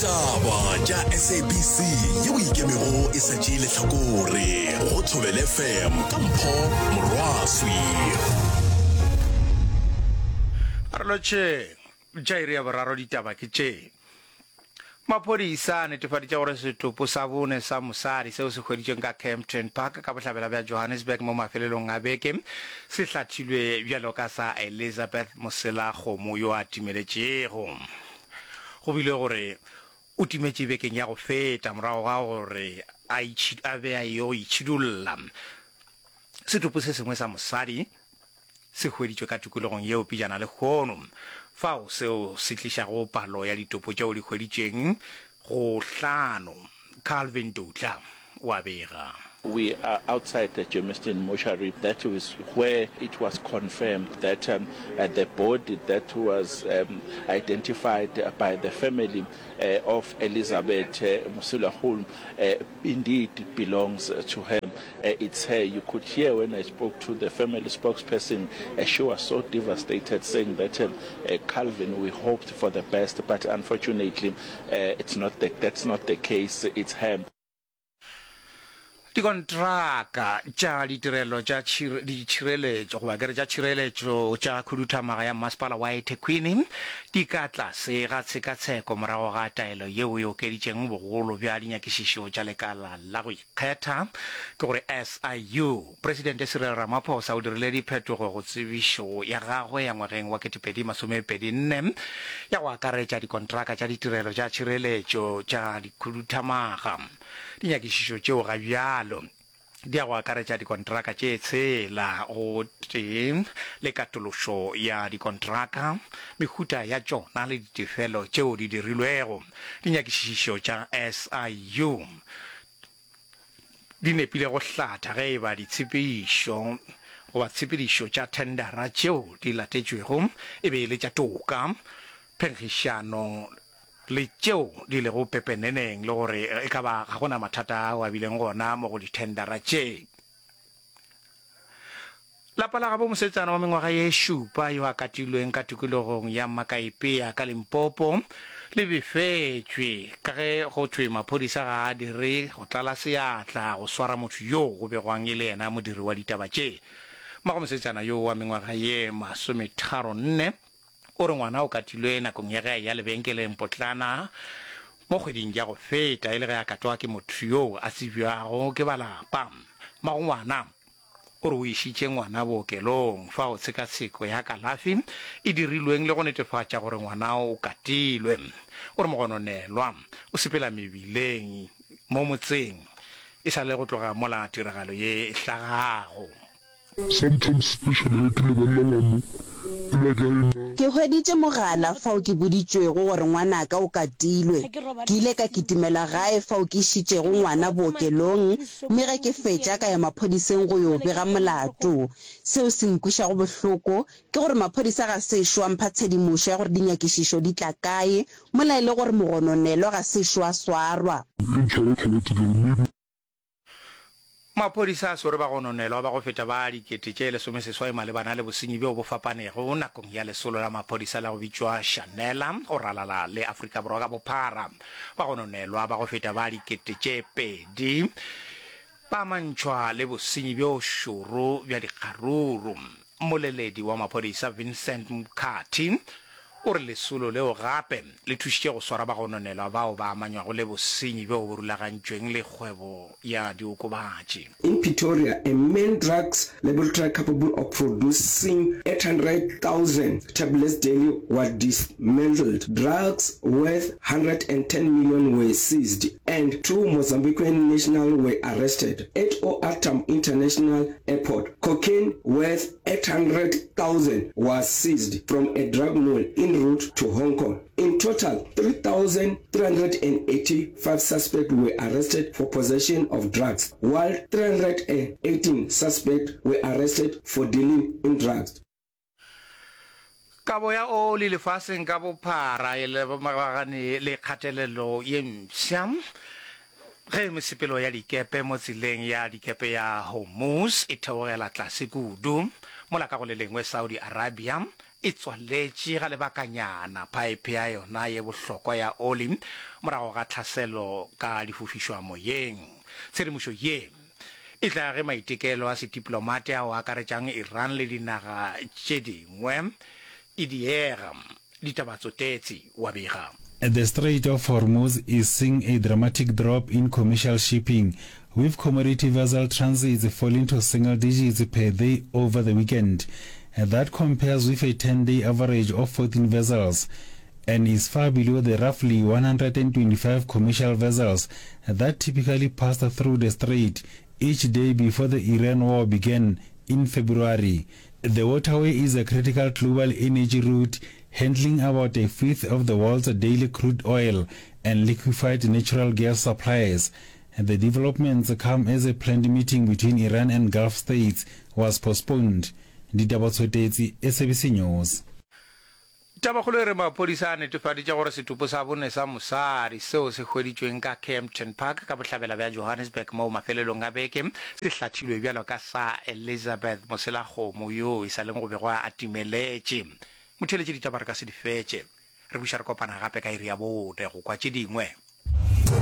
Ditaba tša SABC yeo e ikemego e sa tšee lehlakore go Thobela FM ka Mpho Morwaswi. A re lotšheng. Tša iri ya boraro ditaba ke tše. Maphodisa a netefaditše gore setopo sa bone sa mosadi seo se hweditšweng ka Kempton Park ka bohlabela bja Johannesburg mo mafelelong a beke se hlathilwe bjalo ka sa Elizabeth Moselakgomo yo a timeletšego. Go bilwe gore o timetše bekeng ya go feta morago ga gore a be a eyo itšhidulla. Setopo se sengwe sa mosadi se hweditšwe ka tikologong yeo pejana lehono, fao seo se tlišago palo ya ditopo tšeo di hweditšweng go hlano. Calvin Dutla o a bega. We are outside the Germiston mortuary, that is where it was confirmed that the body that was identified by the family of Elizabeth Moselakgomo indeed belongs to her. It's her. You could hear when I spoke to the family spokesperson, she was so devastated, saying that, Calvin, we hoped for the best, but unfortunately, it's not the, that's not the case. It's her. Dikontraka tša ditirelo tša ditšhireletšo goba ke re tša tšhireletšo tša khuduthamaga ya Mmasepala wa eThekwini di ka tlase ga tshekatsheko morago ga taelo yeo e okeditšeng bogolo bja dinyakišišo tša lekala la go ikgetha, ke gore SIU. Presidente Cyril Ramaphosa o dirile diphetogo go tsebišo ya gagwe ya ngwageng wa 2024 ya go akaretša dikontraka tša ditirelo tša tšhireletšo tša dikhuduthamaga. Dinyakišišo tšeo ga bjalo di ya go akaretša dikontraka tše tshela gotee le katološo ya dikontraka, mehuta ya tšona le ditefelo tšeo di dirilwego. Dinyakišišo tša SIU di nepile go hlatha ge e ba ditshepedišo goba tshepedišo tša thendara tšeo di latetšwego e be e le tša toka, phenkgišano le tšeo di lego pepeneneng le gore e ka ba ga go na mathata ao a bileng gona mo go dithendara tše. Lapa la gabo mosetsana wa mengwaga ye šupa yo a katilweng ka tikologong ya Makaipea ka Limpopo le befetšwe ka ge go thwe maphodisa ga a dire go tlala seatla go swara motho yoo go begwang e le yena modiri wa ditaba tše. Mmago mosetsana yoo wa mengwaga ye masometharonne o re ngwana o katilwe nakong ya ge a eya lebenkeleng potlana mo kgweding ya go feta e le ge a katwa ke motho yoo a tsebjago ke ba lapa. Mmago ngwana O re o išitše ngwana bookelong fao tshekatsheko ya kalafi e dirilweng le go netefatša gore ngwana o katilwe. O re mogononelwa o sepela mebileng mo motseng e sa le go tloga mola tiragalo ye e hlagago. Sometimes especially ge ke lebelela mo plek ya ena. Ke hweditše mogala fao ke boditšwego gore ngwanaka o katilwe. Ke ile ka kitimela gae fao ke išitšego ngwana bookelong mme ge ke fetša ka ya maphodiseng go yo bega molato. Seo se nkwešago bohloko ke gore maphodisa ga sešo a mpha tshedimošo ya gore dinyakišišo di tla kae mola e le gore mogononelwa ga sešo a swarwa. E ntshwara tlhabatse ke re maybe. Maphodisa a swere bagononelwa ba go feta ba 18,000 malebana le bosenyi bjo bo fapanego nakong ya lesolo la maphodisa la go bitšwa Shanela go ralala le Afrika Borwa ka bophara. Bagononelwa ba go feta ba 2000 ba amantšhwa le bosenyi bjo šoro bja dikgaruru. Mmoleledi wa maphodisa Vincent Mkhathi o re lesolo leo gape le thušitše go swara bagononelwa bao ba amanywago le bosenyi bjo bo rulagantšweng le kgwebo ya diokobatši. In Pretoria, a main drugs laboratory capable of producing 800,000 tablets daily was dismantled. Drugs worth 110 million were seized and two Mozambican nationals were arrested at OR Tambo International Airport. Cocaine worth 800,000 was seized from a drug mule en route to Hong Kong. In total, 3,385 suspects were arrested for possession of drugs, while 318 suspects were arrested for dealing in drugs. Kabo ya oli lefaseng ka bophara e lebagane le kgatelelo ye mpsha ge mesepelo ya dikepe mo tseleng ya dikepe ya Hormuz e theogela tlase kudu, mola ka go le lengwe Saudi Arabia. e tswaletše ga lebakanyana phaephe ya yona ye bohlokwa ya oli morago ga tlhaselo ka difofišwa moyeng. Tshedimošo ye e tla ge maitekelo a sediplomate ao a akaretšang Iran le dinaga tše dingwe e diega. Ditaba Tsotetsi wa bega. The Strait of Hormuz is seeing a dramatic drop in commercial shipping, with commodity vessel transits falling to single digits per day over the weekend. That compares with a 10-day average of 14 vessels and is far below the roughly 125 commercial vessels that typically passed through the strait each day before the Iran war began in February. The waterway is a critical global energy route, handling about a fifth of the world's daily crude oil and liquefied natural gas supplies. The developments come as a planned meeting between Iran and Gulf states was postponed. Ditaba Tshotetsi, SABC News. Tabakgolo e re maphodisa a netefaditše gore setopo sa bone sa mosadi seo se hweditšweng ka Kempton Park ka bohlabela bja Johannesburg moo mafelelong a beke se hlathilwe bjalo ka sa Elizabeth Moselakgomo yoo e sa leng go begwa a timeletše. Motheeletši ditaba re ka se di fetše. Re buša re kopana gape ka iri ya bone go kwa tše dingwe.